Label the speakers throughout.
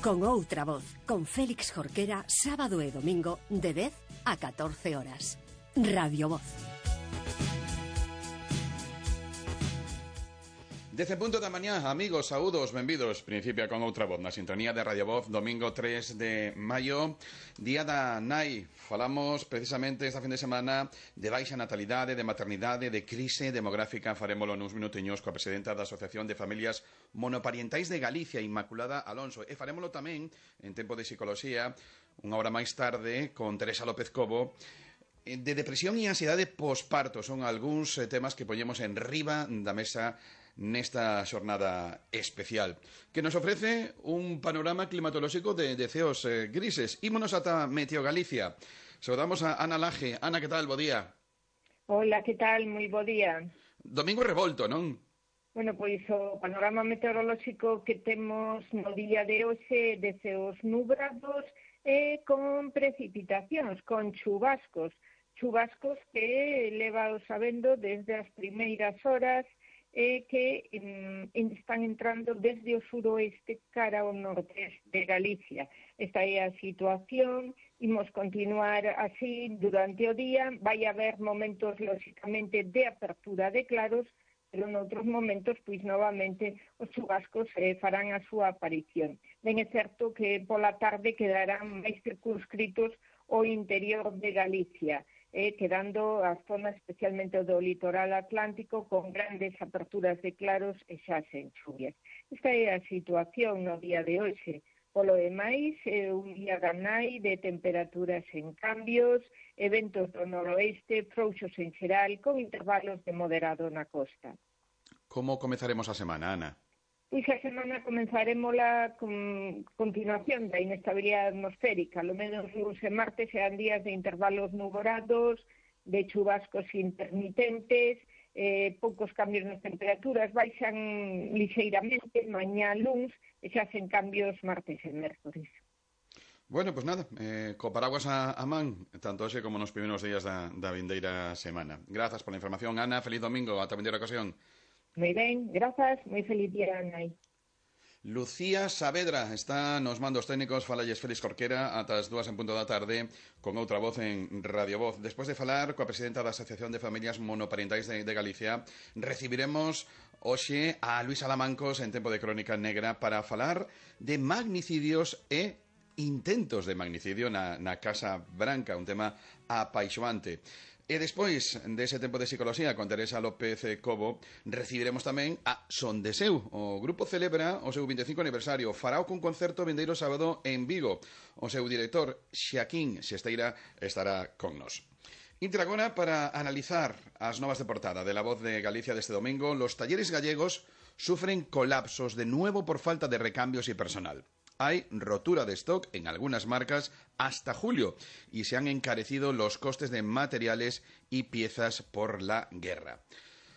Speaker 1: Con outra voz, con Félix Jorquera, sábado e domingo, de 10 a 14 horas. Radio Voz.
Speaker 2: 10:00 da mañá, amigos, saúdos, benvidos. Principia con outra voz na sintonía de Radio Voz, domingo 3 de maio, día da nai. Falamos precisamente esta fin de semana de baixa natalidade, de maternidade, de crise demográfica. Farémolo nuns minutiños coa presidenta da Asociación de Familias Monoparentais de Galicia, Inmaculada Alonso. E farémolo tamén, en tempo de psicoloxía, unha hora máis tarde, con Teresa López Cobo. De depresión e ansiedade posparto son algúns temas que poñemos en riba da mesa nesta xornada especial, que nos ofrece un panorama climatolóxico de ceos grises. Ímonos ata Meteo Galicia. Saudamos a Ana Laje. Ana, que tal? Bo día.
Speaker 3: Hola, que tal? Moi bo día.
Speaker 2: Domingo revolto, non?
Speaker 3: Bueno, pois o panorama meteorolóxico que temos no día de hoxe de ceos nubrados e con precipitacións, con chubascos que leva sabendo desde as primeiras horas que están entrando desde o suroeste cara ao nordeste de Galicia. Esta é a situación, imos continuar así durante o día, vai haber momentos, lóxicamente, de apertura de claros, pero noutros momentos, pois, novamente, os chubascos farán a súa aparición. Ben é certo que pola tarde quedarán máis circunscritos o interior de Galicia, quedando as zonas especialmente do litoral atlántico con grandes aperturas de claros e xa sen chuvias. Esta é a situación no día de hoxe. Polo demais, un día ganai de temperaturas en cambios, eventos do noroeste, frouxos en xeral, con intervalos de moderado na costa.
Speaker 2: Como comezaremos a semana, Ana?
Speaker 3: Pois a semana comenzaremosla con continuación da inestabilidade atmosférica. Lo menos luns e martes serán días de intervalos nuborados, de chubascos intermitentes, poucos cambios nas temperaturas, baixan lixeiramente mañá luns e xa hacen cambios martes e mércores.
Speaker 2: Bueno, pues nada, co paraguas a man, tanto hoxe como nos primeiros días da vindeira semana. Grazas pola información, Ana, feliz domingo, ata a vindeira ocasión.
Speaker 3: Moi ben, grazas, moi feliz día, Anai.
Speaker 2: Lucía Saavedra está nos mandos técnicos. Falalles Félix Jorquera ata as 2:00 da tarde con outra voz en Radio Voz. Despois de falar coa presidenta da Asociación de Familias Monoparentais de Galicia, recibiremos hoxe a Luís Alamancos en tempo de Crónica Negra para falar de magnicidios e intentos de magnicidio na Casa Branca, un tema apaixoante. E despois dese tempo de psicoloxía con Teresa López Cobo, recibiremos tamén a Son de Seu. O grupo celebra o seu 25 aniversario. Farao cun concerto vindeiro sábado en Vigo. O seu director, Xaquín Xesteira, estará con nos. Intra agora para analizar as novas de portada de La Voz de Galicia deste domingo. Los talleres gallegos sufren colapsos de nuevo por falta de recambios y personal. Hay rotura de stock en algunas marcas hasta julio y se han encarecido los costes de materiales y piezas por la guerra.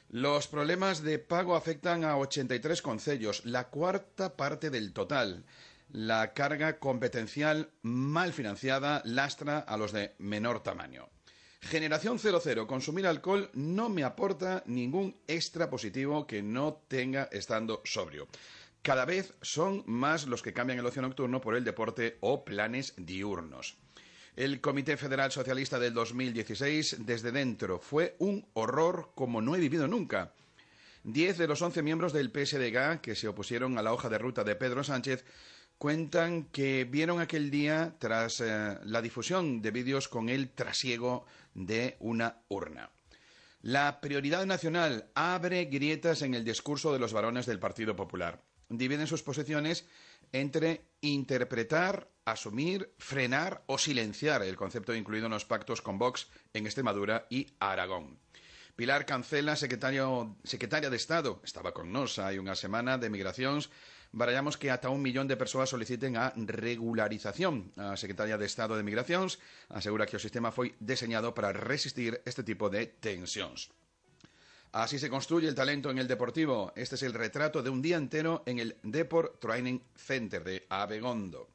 Speaker 2: Los problemas de pago afectan a 83 concellos, la cuarta parte del total. La carga competencial mal financiada lastra a los de menor tamaño. Generación 00. Consumir alcohol no me aporta ningún extra positivo que no tenga estando sobrio. Cada vez son más los que cambian el ocio nocturno por el deporte o planes diurnos. El Comité Federal Socialista del 2016, desde dentro, fue un horror como no he vivido nunca. 10 de los 11 miembros del PSDG que se opusieron a la hoja de ruta de Pedro Sánchez cuentan que vieron aquel día tras la difusión de vídeos con el trasiego de una urna. La prioridad nacional abre grietas en el discurso de los varones del Partido Popular. Dividen sus posiciones entre interpretar, asumir, frenar o silenciar el concepto incluido en los pactos con Vox en Extremadura y Aragón. Pilar Cancela, secretaria de Estado, estaba con nos hai unha semana de migracións. Barallamos que ata 1 millón de persoas soliciten a regularización. A secretaria de Estado de Migracións asegura que o sistema foi deseñado para resistir este tipo de tensións. Así se construye el talento en el deportivo. Este es el retrato de un día entero en el Deport Training Center de Abegondo.